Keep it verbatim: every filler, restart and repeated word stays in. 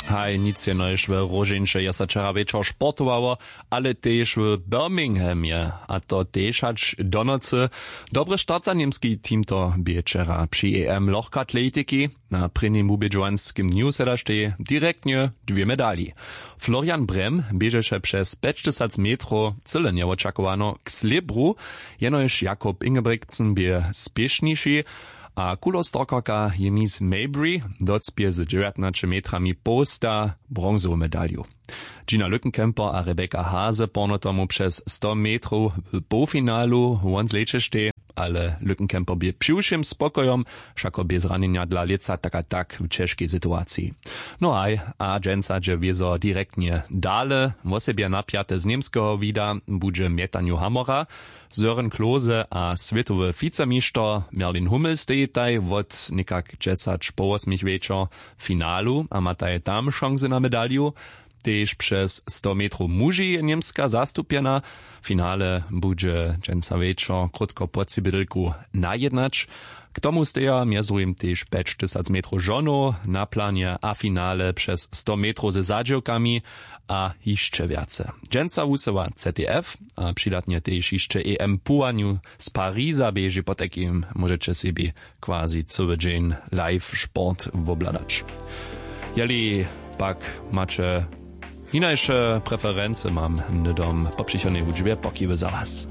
Haj, nic jenož w róžeńše je so wčera wječor sportowało, ale tež w Birminghamje, a to tež hač do nocy. Dobry start za němski team to bě wčera při E M lochkatletiki. Na prěnim wubědźowanskim dnju sedaštej direktnje dwě medali. Florian Brem běžeše přez pjećtysac metrow cyle njewočakowano k slěbru, jenož Jakub Ingebrigtsen bě spěšniši, a kulostorkarka Jemis Mabry docpě z dźewjatnaće metrami połsta bronzowu medalju. Gina Lückenkemper a Rebecca Hase porno tomu přez sto metrow w połfinalu won zlećeštej, ale Lückenkemper bě přiwšěm spokojom, wšako bě zranjenja dla lětsa tak a tak w ćežkej situaciji. No haj, a dźensa dźe wězo direktnje dale. Wosebje napjate z němskeho wida budźe mjetanju hamora. Søren Klose a swětowy wicemišter Merlin Hummel stejitaj wot někak dźesać po wosmich wječor w finalu a mataj tam šansy na medalju. Tež přez sto metrow muži je Němska zastupjena. Finale budźe dźensa wječor krótko po tři bědelku najednać. K tomu steja mjez druhim tež pjećtysac metrow žonow na planje a finale přez sto metrow ze zadźěłkami a hišće wjace. Dźensa wusyła C T F a přidatnje tež hišće E M puwanju z Pariza běži, potajkim móžeće sebi quasi cyły dźeń live sport wobhladać. Jeli pak maće hinajše preferency, mam hnydom po přichodnej hudźbje pokiwy za was.